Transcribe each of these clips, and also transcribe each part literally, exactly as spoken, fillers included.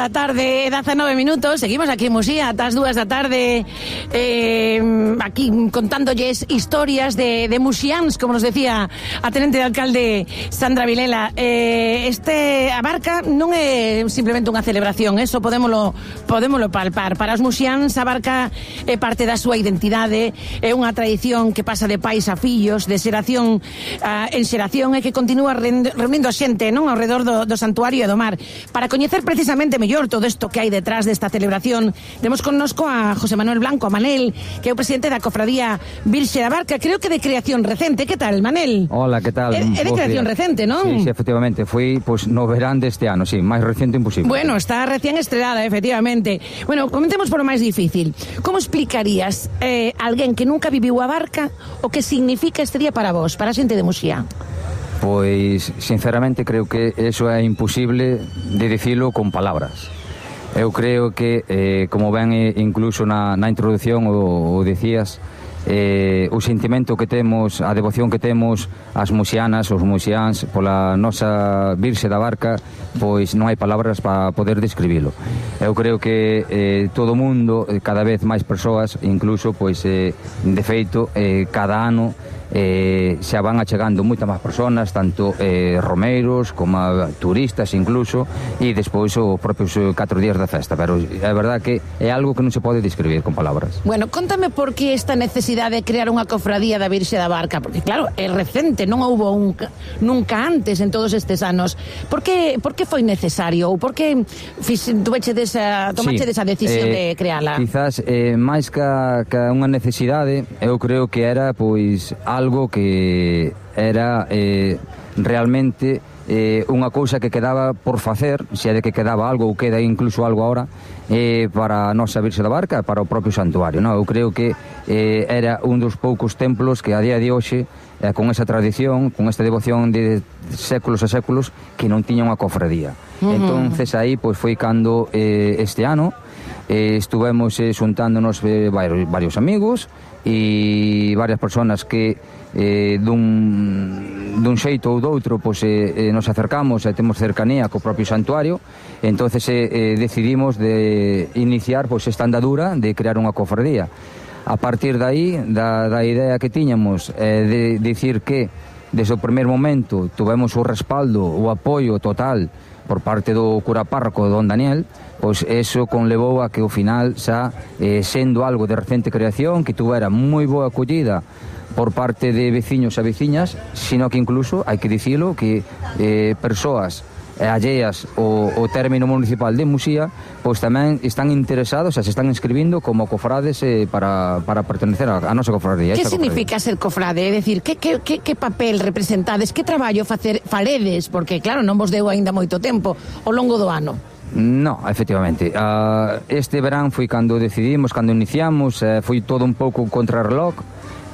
da tarde, dezanove minutos. Seguimos aquí en Muxía ata as dúas da tarde, eh, aquí contándolles historias de, de muxiáns, como nos decía a tenente de alcalde Sandra Vilela. Eh, este a Barca non é simplemente unha celebración, eso podémolo, podémolo palpar. Para os muxiáns a Barca é parte da súa identidade, é unha tradición que pasa de pais a fillos, de xeración a, en xeración, e que continúa reunindo a xente, non, ao redor do, do santuario e do mar. Para coñecer precisamente mellor todo isto que hai detrás desta celebración, temos connosco a José Manuel Blanco, a Manel, que é o presidente da Cofradía Virxe da Barca, creo que de creación recente. Que tal, Manel? Hola, que tal? É, é de creación recente, non? Sí, sí, efectivamente, foi pues, no verán deste ano, sí, máis reciente imposible. Bueno, está recién estrenada, efectivamente. Bueno, comentemos por o máis difícil. Como explicarías eh, alguén que nunca viviu a Barca o que significa este día para vos, para a xente de Muxía? Pois, sinceramente, creo que eso é imposible de dicilo con palabras. Eu creo que, eh, como ben incluso na, na introducción o, o dicías, eh, o sentimento que temos, a devoción que temos as muxianas, os muxiáns, pola nosa Virxe da Barca, pois non hai palabras para poder describilo. Eu creo que eh, todo o mundo, cada vez máis persoas, incluso, pois, eh, de feito, eh, cada ano Eh, xa van achegando moitas máis personas, tanto eh, romeiros como turistas incluso, e despois os propios catro días da festa, pero é verdad que é algo que non se pode describir con palabras. Bueno, contame por que esta necesidade de crear unha cofradía da Virxe da Barca, porque claro, é recente, non houbo un, nunca antes en todos estes anos. Por que, por que foi necesario, ou por que tomache desa, tomache sí, desa decisión eh, de creala? Quizás, eh, máis que, que unha necesidade, eu creo que era, pois, algo que era eh, realmente eh, unha cousa que quedaba por facer, se é de que quedaba algo ou queda incluso algo agora, eh, para a nosa Virxe da Barca, para o propio santuario, non? Eu creo que eh, era un dos poucos templos que a día de hoxe, eh, con esa tradición, con esta devoción de séculos e séculos, que non tiña unha cofradía. Uh-huh. Entonces aí pois foi cando eh, este ano eh, estuvemos eh, xuntándonos eh, varios, varios amigos e varias personas que eh, dun, dun xeito ou doutro pois, eh, eh, nos acercamos e temos cercanía co propio santuario. Entonces eh, eh, decidimos de iniciar pois, esta andadura de crear unha cofradía. A partir de aí, da, da idea que tiñamos eh, de dicir que desde o primer momento tuvemos o respaldo, o apoio total por parte do cura párroco don Daniel, pois eso conlevou a que ao final xa eh, sendo algo de recente creación, que tuvera moi boa acollida por parte de veciños e veciñas, sino que incluso, hai que dicilo, que eh, persoas alleas o, o término municipal de Muxía pois tamén están interesados e se están inscribindo como cofrades eh, para, para pertenecer a, a nosa cofradía. Que significa cofradía? Ser cofrade? É dicir, que, que, que, que papel representades, que traballo facer, faredes? Porque claro, non vos deu aínda moito tempo ao longo do ano. No, efectivamente. Uh, este verán foi cando decidimos, cando iniciamos, uh, foi todo un pouco contra reloj.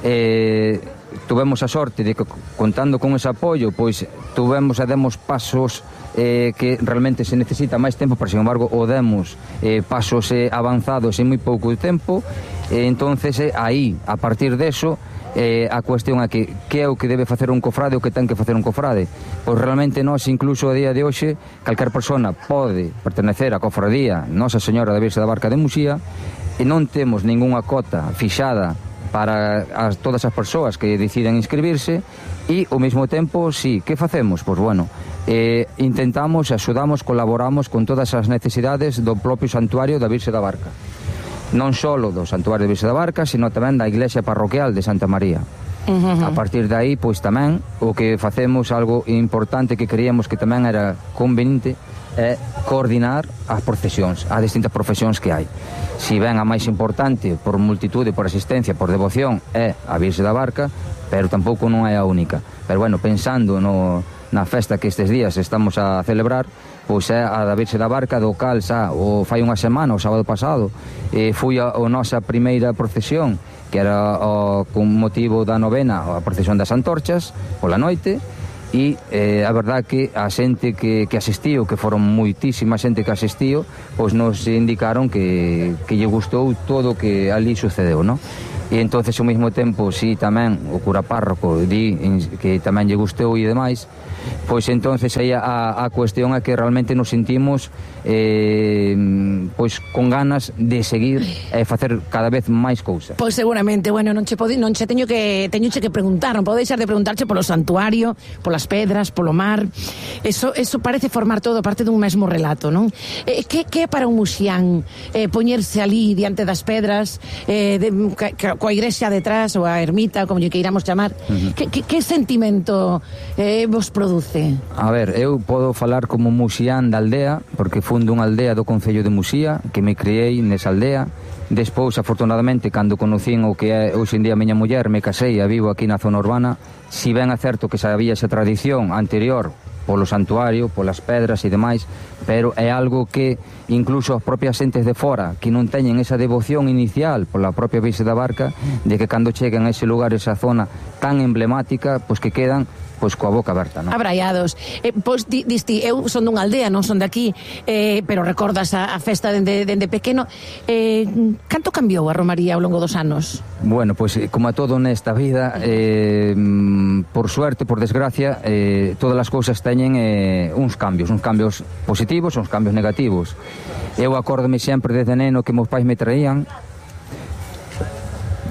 Eh, tuvemos a sorte de que, contando con ese apoio, pois tuvemos e demos pasos eh, que realmente se necesita máis tempo, pero sin embargo o demos eh, pasos eh, avanzados en moi pouco tempo. Eh, entonces eh, aí, a partir deso, eh, a cuestión é que que é o que debe facer un cofrade, o que ten que facer un cofrade. Pois realmente nós, incluso a día de hoxe, calquer persona pode pertenecer á cofradía Nosa Señora da Virxe da Barca de Muxía, e non temos ningunha cota fixada para as, todas as persoas que deciden inscribirse, e ao mesmo tempo, sí, que facemos? Pois bueno, eh, intentamos, axudamos, colaboramos con todas as necesidades do propio santuario da Virxe da Barca, non só do santuario da Virxe da Barca, sino tamén da iglesia parroquial de Santa María. Uh-huh. A partir de aí, pois tamén o que facemos, algo importante que creíamos que tamén era conveniente, é coordinar as procesións, as distintas profesións que hai. Si ben a máis importante por multitude, por asistencia, por devoción é a Virxe da Barca, pero tampouco non é a única. Pero bueno, pensando no, na festa que estes días estamos a celebrar, pois é a da Virxe da Barca, do cal xa o fai unha semana, o sábado pasado, eh, foi a, a nosa primeira procesión, que era o, con motivo da novena, a procesión das antorchas pola noite. E eh, a verdad que a xente que, que asistiu, que foron moitísima xente que asistiu, pois nos indicaron que, que lle gustou todo o que ali sucedeu, non? e entonces ao mesmo tempo si tamén o cura párroco di que tamén lle gustou e demais, pois entonces aí a, a cuestión é que realmente nos sentimos eh, pois con ganas de seguir e facer cada vez máis cousas. Pois seguramente, bueno, non che pode, non che teño que teño che que preguntar, non podo deixar de preguntarche polo santuario, polas pedras, polo mar. Eso eso parece formar todo parte dun mesmo relato, non? Eh, que que é para un muxián eh, poñerse ali diante das pedras, eh, de, ca, ca, coa igrexa detrás ou a ermita, como lle queiramos chamar? Uh-huh. Que, que, que sentimento eh, vos produce? A ver, eu podo falar como muxián da aldea, porque fundo unha aldea do concello de Muxía, que me criei nesa aldea. Despois, afortunadamente, cando conocín o que é hoxe en día a miña muller, me casei e vivo aquí na zona urbana. Si ben é certo que sabía esa tradición anterior polo santuario, polas pedras e demais, pero é algo que incluso as propias xentes de fora que non teñen esa devoción inicial pola propia Virxe da Barca, de que cando cheguen a ese lugar, esa zona tan emblemática, pois que quedan pois coa boca aberta, non? Abraiados. Eh, pois di, diste, eu son dunha aldea, non son de aquí, eh, pero recordas a, a festa dende, dende pequeno. Eh, canto cambiou a romaría ao longo dos anos? Bueno, pois como a todo nesta vida, eh, por suerte, por desgracia, eh, todas as cousas teñen eh, uns cambios, uns cambios positivos, uns cambios negativos. Eu acórdome sempre desde neno que meus pais me traían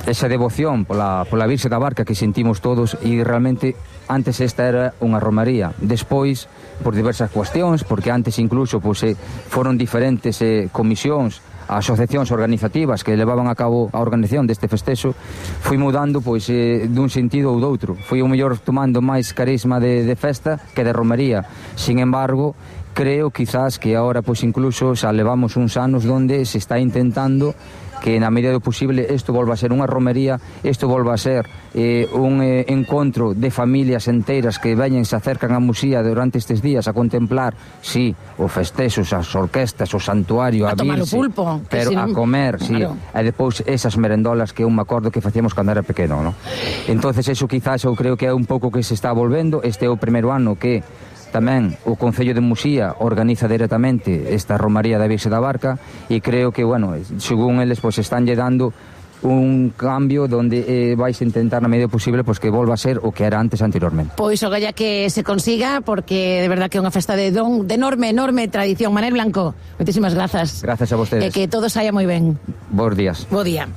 esa devoción pola, pola Virxe da Barca que sentimos todos, e realmente antes esta era unha romaría. Despois, por diversas cuestións, porque antes incluso pois, eh, foron diferentes eh, comisións, asociacións organizativas que levaban a cabo a organización deste festexo, fui mudando pois eh, dun sentido ou doutro. Fui o mellor tomando máis carisma de, de festa que de romaría. Sin embargo, creo quizás que ahora pois incluso xa levamos uns anos donde se está intentando que na medida do posible isto volva a ser unha romería, isto volva a ser eh, un eh, encontro de familias enteiras que veñen, se acercan a Muxía durante estes días a contemplar, sí, os festexos, as orquestas, o santuario, a, a tomar virse, o pulpo, pero si non... a comer, sí, claro. E depois esas merendolas que eu me acordo que facíamos cando era pequeno, ¿no? Entonces eso quizás eu creo que é un pouco que se está volvendo. Este é o primeiro ano que tamén o Concello de Muxía organiza directamente esta romaría da Virxe da Barca, e creo que, bueno, según eles, pois estánlle dando un cambio donde eh, vais a intentar na medida posible pois que volva a ser o que era antes anteriormente. Pois o galla que se consiga, porque de verdad que é unha festa de don, de enorme, enorme tradición. Manel Blanco, moitísimas grazas. Grazas a vostedes. E que todo saia moi ben. Bos días. Bo día.